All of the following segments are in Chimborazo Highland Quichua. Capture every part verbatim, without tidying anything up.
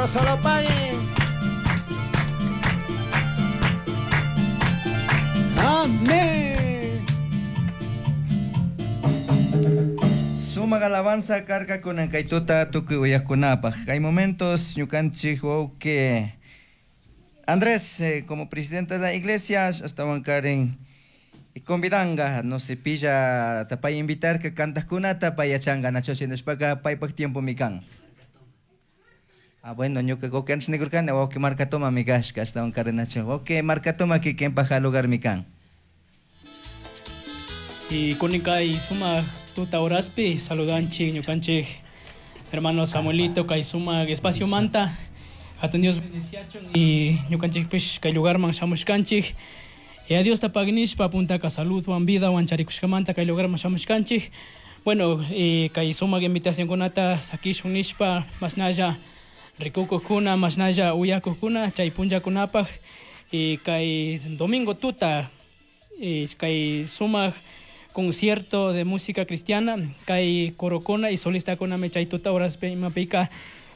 Dios se lo pague. Amén. Sumaq alabanza karka kunan kay tuta tukuy uyaqkunapaq. Kay momentos ñukanchik wawqi Andrés eh, como presidente de la iglesia astawan karen convidanga no se pilla tapay invitar que kantaqkunata pay yachanka nacho shinashpaka paypaq tiempo mi kan. Ah, bueno, ñuka wawqi antes nikurkani wawqi Marcatoma mi kashka astawan karen nacho. Wawqi Marcatoma kikinpaq lugar mi kan. Y kunin sumaq tuta horaspi saludanchik ñukanchik hermano Samuelito kay sumaq espacio manta hatun Dios bendiciachun y ñukanchikpish kay lugarman shamushkanchik y a Dios ta pagnishpa puntaka saludwan vidawan charikushkamanta kay lugarman shamushkanchik bueno y kay sumaq invitacionkunata sakishun nishpa mashnalla rikukuqkuna mashnalla uyakuqkuna chay punllakunapaq y kay domingo tuta y kay sumaq concierto de música cristiana kay corokuna y solista kunami chay tuta horaspi imapika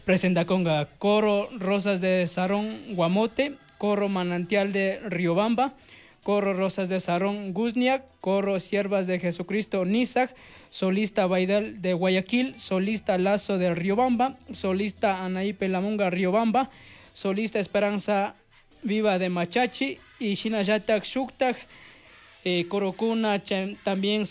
presentakonga coro Rosas de Sarón Guamote, coro Manantial de Riobamba, coro Rosas de Sarón Guzniak, coro Siervas de Jesucristo Nizac, solista Baidal de Guayaquil, solista Lazo de Riobamba, solista Anaí Pelamunga Riobamba, solista Esperanza Viva de Machachi y Shinayatak Shuktak, eh, Corocuna también